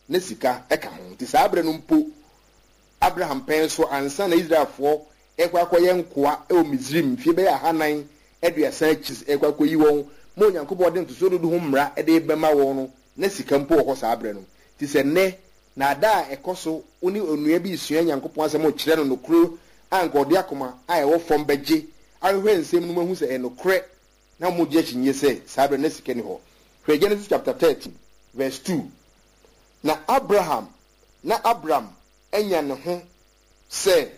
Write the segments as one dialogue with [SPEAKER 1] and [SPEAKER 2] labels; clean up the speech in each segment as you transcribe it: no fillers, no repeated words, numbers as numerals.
[SPEAKER 1] na sika ka ho. Nti saa berɛ no mpo, Abraham pɛn so ansa na Israelfoɔ rekɔ akɔyɛ nkoa wɔ Misraim mfeɛ bɛyɛ 430 akyi rekɔ akɔyi wɔn ma Onyankopɔn de ntosoɔ dudu ho mmara de rebɛma wɔn no, na sika mpo wɔ hɔ saa berɛ no. Nti sɛ nnɛ, nnaadaa a ɛkɔ so, wo ne onua bi resua Nyankopɔn asɛm rekyerɛ no nokorɛ a anka ɔde akoma a ɛwɔ fam bɛgye ahwehwɛ nsɛm no mu ahu sɛ ɛyɛ nokorɛ na wɔgye akyinnye sɛ saa berɛ no na sika nni hɔ. Hwɛ Genesis chapter 13 verse 2. Na Abraham, na Abram anya ne ho sɛ,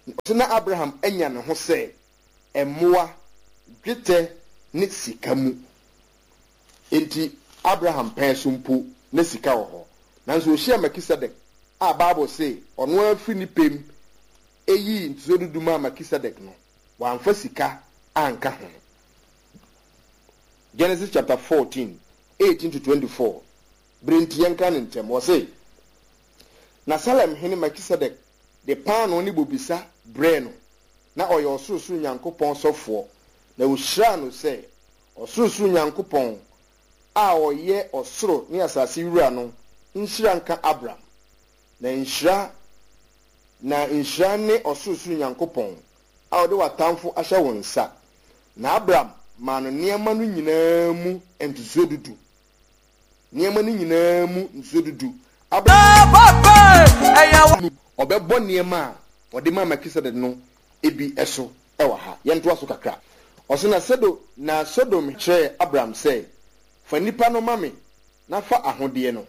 [SPEAKER 1] ɔse na Abraham anya ne ho sɛ mmoa, dwetɛ ne sika mu. Enti Abraham pɛn so mpo na sika wɔ hɔ. Nanso ɔhyiaa Melkisedek a Bible se ɔno ara firi ne pɛ mu yii ntosoɔ dudu maa Melkisedek no, wamfa sika anka ho. Genesis chapter 14, 18 to 24, Bere nti yɛnka no ntɛm. Ɔse, Na Salem hene Melkisedek de paanoo ne bobesa brɛɛ no, na ɔyɛ Ɔsorosoro Nyankopɔn sɔfoɔ, na ɔhyiraa no sɛ, Ɔsorosoro Nyankopɔn a ɔyɛ ɔsoro ne asase wura no nhyira nka Abram, na nhyira, na nhyira ne Ɔsorosoro Nyankopɔn a ɔde w'atamfo ahyɛ wo nsa. Na Abram maa no nneɛma no nyinaa mu ntosoɔ dudu. Nneɛma no nyinaa mu ntosoɔ dudu. Abram no, ɔbɛbɔ nneɛma a ɔde maa Melkisedek no bi so wɔ ha. Yɛntoa so kakra. Ɔse, Na Sodom, na Sodom kyerɛɛ Abram sɛ, Fa nnipa no ma me, na fa ahodeɛ no.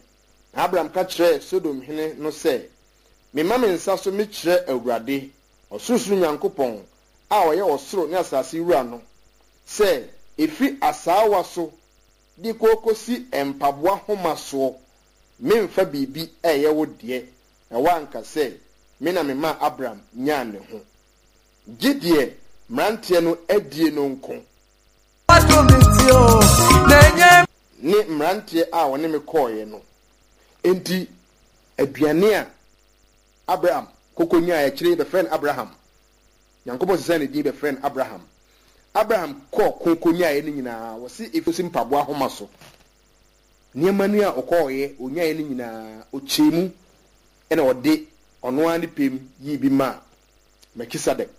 [SPEAKER 1] Na Abram ka kyerɛɛ Sodom hene no sɛ, Mema me nsa so mekyerɛ Awurade, Ɔsorosoro Nyankopɔn a ɔyɛ ɔsoro ne asase wura no, sɛ ɛfiri asaawa so de kɔkɔsi mpaboa homa soɔ, meremfa biribi a ɛyɛ wo deɛ, na woanka sɛ, 'Me na memaa Abram nyaa ne ho. Gye deɛ mmeranteɛ no adie no nko. Ne mmeranteɛ a wɔne me kɔeɛ no. Enti aduane a Abram kɔkɔ nyaeɛ, akyire yi bɛfrɛɛ no Abraham. Nyankopɔn sesaa ne din bɛfrɛɛ no Abraham. Abraham kɔɔ ko kɔnyaeɛ no nyinaa, wɔse ɛkɔsi mpaboa homa so. Nneɛma no a ɔkɔeɛ, ɔnyaeɛ no nyinaa, ɔkyɛɛ mu na ɔde ɔno ara ne pɛ mu yii bi maa Melkisedek.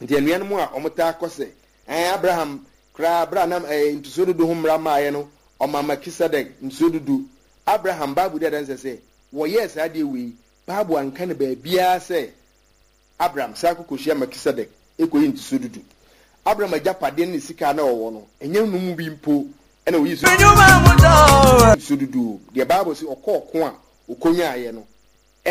[SPEAKER 1] Nti anuanom a wɔtaa kɔ sɛ, ɛɛ Abraham koraa berɛ a na ɛɛ ntosoɔ dudu ho mmara mmaeɛ no, ɔmaa Melkisedek ntosoɔ dudu. Abraham, Bible di adanseɛ sɛ wɔyɛɛ saa adeɛ wei. Bible anka no baabiara sɛ Abram san kɔ kɔhyia Melkisedek kɔyi ntosoɔ dudu. Abram agyapadeɛ ne ne sika a na ɔwɔ no, ɛnyɛ no mu bi mpo na ɔyii so ntosoɔ dudu. Deɛ Bible se ɔkɔɔ ɔko a ɔkɔnyaaeɛ no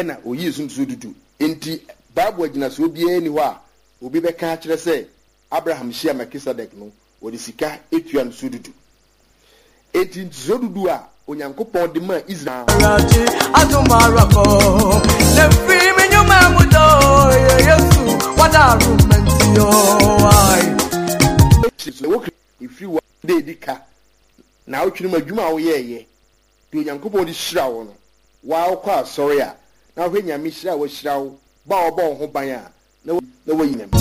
[SPEAKER 1] na ɔyii so ntosoɔ dudu. Enti Bible agyinasoɔ biara nni hɔ a obi bɛka akyerɛ sɛ Abraham hyia Melkisedek no, ɔde sika tua ntosoɔ dudu. Enti ntosoɔ dudu a Onyankopɔn de maa Israel.
[SPEAKER 2] Awurade adom ara kɔ, na firi me nnwuma mu dɔ, yɛ Yesu w'adaworoma nti o, ai.
[SPEAKER 1] Ɛwɔ ɛfiri wo da ɛdi ka naawɔtwe no mu adwuma a woyɛɛyɛ, deɛ Onyankopɔn de hyira wo no, wo ara wokɔ asɔre a, na wohwɛ Nyame hyira a wahyira wo, bɔ a wabɔ wo ho ban a, na na wayi Nyame.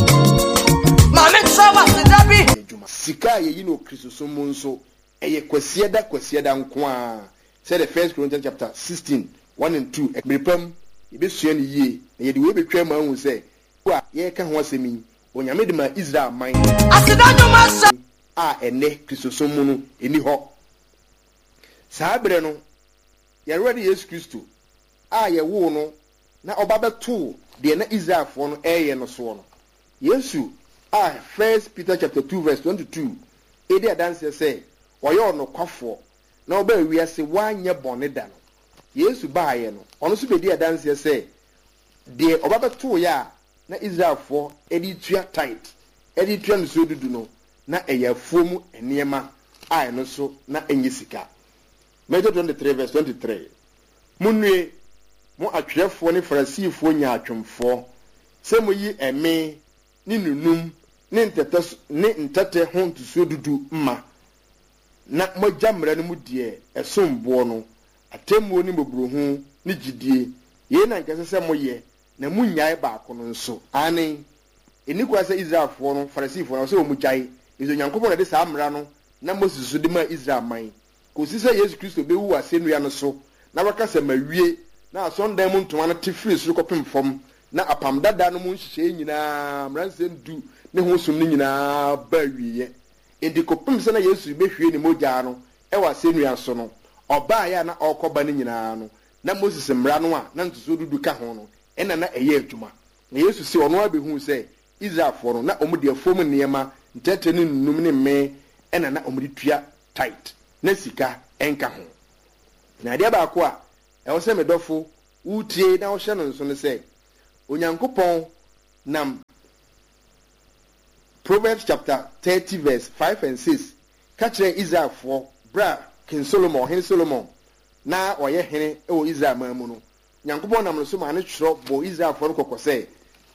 [SPEAKER 2] Ma me nkyerɛ wo aseda bi.
[SPEAKER 1] Adwuma. Sika a yɛyi no wɔ Kristosom mu nso, ɛyɛ Kwasiada Kwasiada nko ara, sɛdeɛ First Corinthians chapter 16, 1 and 2 Mmere pa mu, yɛbɛsua no yie, na yɛde wei bɛtwa mu ahu sɛ, a yɛreka ho asɛm yi, Onyame de maa Israel man.
[SPEAKER 2] Aseda nnwom ahyɛ.
[SPEAKER 1] A ɛnnɛ Kristosom mu no, ɛnni hɔ. Saa berɛ no, yɛn Awurade Yesu Kristo a yɛwoo no na ɔba bɛtoo deɛ na Israelfoɔ no reyɛ no soɔ no, Yesu a First Peter chapter 2 verse 22 redi adanseɛ sɛ ɔyɛ ɔnokwafoɔ na ɔbaa wiase wanyɛ bɔne da no, Yesu baeɛ no, ɔno nso bɛdii adanseɛ sɛ deɛ ɔba bɛtooeɛ a na Israelfoɔ de retua tithe, de retua nsuo dudu no, na ɛyɛ afuo mu nneɛma a ɛno nso na ɛnyɛ sika. Matthew 23 verse 23, Monnue, mo atwerɛfoɔ ne Farisifoɔ nyaatwomfoɔ, sɛ moyi ɛme ne nunum ne ntɛtɛ ne ntɛtɛ ho ntosoɔ dudu ma, na moagya mmara no mu deɛ ɛsom boɔ no, atemmuo ne mmɔborɔhunu ne gyidie. Yei na anka ɛsɛ sɛ moyɛ, na monnyae baako no nso. Aane, ɛnni kwan sɛ Israelfoɔ no, Farisifoɔ no, ɛwɔ sɛ wɔgyae, efisɛ Onyankopɔn na ɛde saa mmara no nam Moses so de maa Israel man, kɔsi sɛ Yesu Kristo bɛwu wɔ asɛnnua no so. na waka sɛ, Mawie, na asɔredan mu ntoma no te firii soro kɔpem fam, na Apam Dada no mu nhyehyɛeɛ nyinaa, Mmaransɛm Du ne ho som no nyinaa baa awieeɛ. Enti kɔpem sɛ na Yesu rebɛhwie ne mogyaa no wɔ asɛnnua so no, ɔbaeɛ a na ɔrekɔba no nyinaa no, na Moses Mmara no a na ntosoɔ dudu ka ho no na na ɛyɛ adwuma. Na Yesu se ɔno ara bɛhuu sɛ Israelfoɔ no, na wɔde afuom nneɛma, ntɛtɛ ne nunum ne mmee na na wɔde tua tithe, na sika nka ho. Na adeɛ baako a ɛwɔ sɛ me dɔfo wotie na wohyɛ no nso ne sɛ, Onyankopɔn nam Proverbs chapter 30 verse 5 and 6 ka kyerɛɛ Israelfoɔ berɛ a King Solomon, Ɔhene Solomon, na ɔyɛ hene wɔ Israel man mu no, Nyankopɔn nam no so maa no twerɛ bɔɔ Israelfoɔ no kɔkɔ sɛ,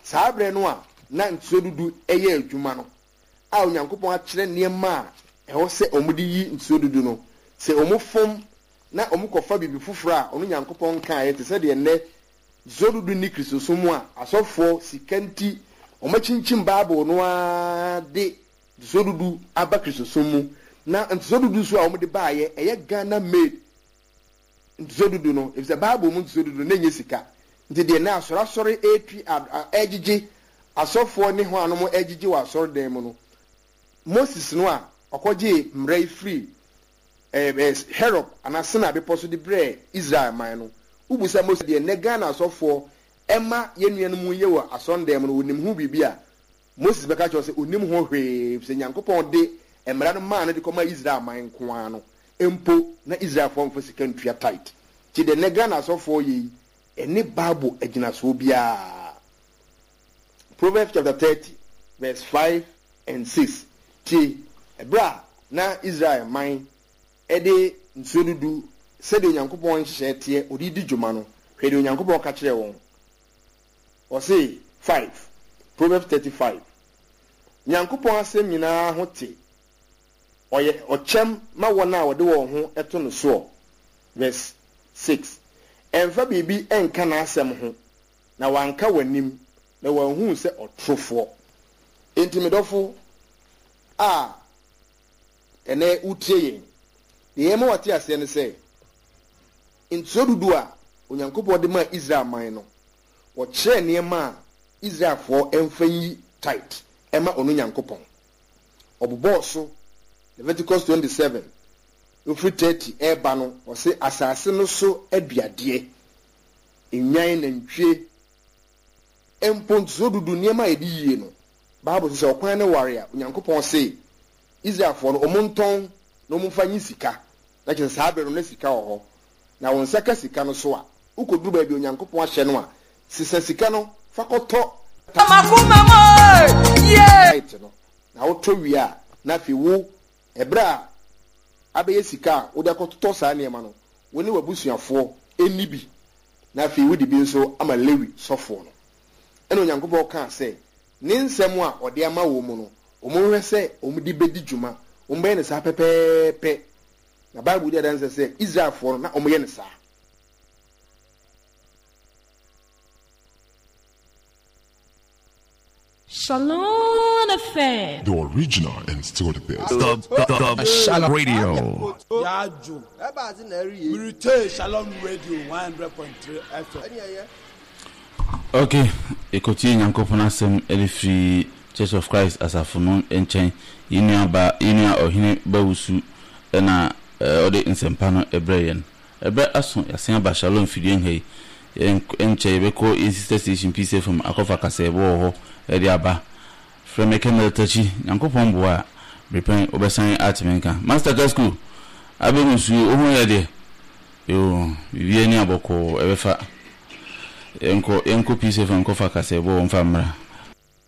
[SPEAKER 1] saa berɛ no a na ntosoɔ dudu yɛ adwuma no, a Onyankopɔn akyerɛ nneɛma a ɛwɔ sɛ wɔde yi ntosoɔ dudu no, sɛ wɔfom na wɔkɔfa biribi foforɔ a ɔno Nyankopɔn nkaeɛ, te sɛ deɛ nnɛ ntosoɔ dudu nni Kristosom mu a asɔfoɔ sika nti wɔakyinkyim Bible no ara de ntosoɔ dudu aba Kristosom mu, na ntosoɔ dudu nso a wɔde baeɛ, ɛyɛ Ghana made ntosoɔ dudu no, efisɛ Bible mu ntosoɔ dudu no, na ɛnyɛ sika. Nti deɛ na asɔreasɔre retwi, ɛregyegye, asɔfoɔ ne hwannom regyegye wɔ asɔredan mu no, Moses no a ɔkɔgyee mmara yi firii Herod anaa Sinai bepɔ so de brɛɛ Israel man no, wobisa Moses deɛ nnɛ Ghana asɔfoɔ ma yɛn nuanom yɛ wɔ asɔredan mu no, ɔnim ho biribi a? Moses bɛka akyerɛ wo sɛ ɔnnim ho hwee, efisɛ Nyankopɔn de mmara no maa no de kɔmaa Israel man nko ara no mpo, na Israelfoɔ mfa sika ntua tithe. Nti deɛ nnɛ Ghana asɔfoɔ yɛ yi, ɛnne Bible agyinasoɔ biara. Proverbs chapter 30 verse 5 and 6, Tie, ɛberɛ a na Israel man de nsuo dudu sɛdeɛ Onyankopɔn nhyehyɛeɛ teɛ ɔde redi dwuma no, hwɛ deɛ Onyankopɔn ka kyerɛɛ wɔn. Ɔse 5, Proverbs 35, Nyankopɔn asɛm nyinaa ho te, ɔyɛ ɔkyɛm ma wɔn a wɔde wɔn ho to no soɔ. Verse 6, Ɛmfa biribi nka n'asɛm ho, na wanka w'anim, na wanhu wo sɛ ɔtorofoɔ. Enti me dɔfo a ɛnnɛ wotie yɛn, deɛ yɛma wate aseɛ ne sɛ, ntosoɔ dudu a Onyankopɔn de maa Israel man no, wɔkyerɛɛ nneɛma a Israelfoɔ mfa nyi tithe mma ɔno Nyankopɔn. Ɔbobɔɔ so, Leviticus 27, ɛfiri 30 reba no, ɔse asase no so aduadeɛ, nnwan, nantwie, mpo ntosoɔ dudu, nneɛma a yɛde yie no, Bible se sɛ ɔkwan no ware a, Onyankopɔn se Israelfoɔ no, wɔntɔn na wɔmfa nyi sika. Na kyerɛ sɛ saa bere no na sika wɔ hɔ. Na wo nsa ka sika no so a, wukoduru baabi a Onyankopɔn ahyɛ no a, sesa sika no fa kɔtɔ tithe no. Na wotɔ wie a, na afei wo, ɛberɛ a abɛyɛ sika a wode akɔtotɔ saa nneɛma no, wo ne w'abusuafoɔ nni bi, na afei wode bi nso ama Lewi sɔfoɔ no. Ɛnna Onyankopɔn kaa sɛ, Ne nsɛm a ɔde ama wɔn mu no, wɔnhwɛ sɛ wɔde bedi dwuma. Wɔbɛyɛ no saa pɛpɛɛpɛ. Na Bible di adanse sɛ Israelfoɔ no, na wɔyɛ no saa.
[SPEAKER 3] Shalom FM.
[SPEAKER 4] The original and still the best.
[SPEAKER 5] The Shalom Radio.
[SPEAKER 6] Yaajo. Mirite Shalom Radio 100.3 FM.
[SPEAKER 7] Ok, yɛkɔtie Nyankopɔn asɛm de firi Church of Christ asafo no nkyɛn. Yɛn nua ba, yɛn nua Ɔhene Bawusu na ɔde nsɛmpa no brɛ yɛn. Ɛberɛ aso, yɛasen aba Shalom fidua nha yi. Ɛnkyɛ yɛbɛkɔ yɛn sister station Peace FM akɔfa kasaɛbɔ wɔ hɔ de aba. Frɛ me Kɛmɛl Takyi, Nyankopɔn boa a, berepɛn wobɛsan ate me nka. Master Kasku, Abɛmusuo, wo ho yɛ deɛ? Yoo, biribiara ni a bɔkɔɔ, ɛbɛfa. Yɛnkɔ, yɛnkɔ Peace FM nkɔfa kasaɛbɔ wɔ mfa mmra.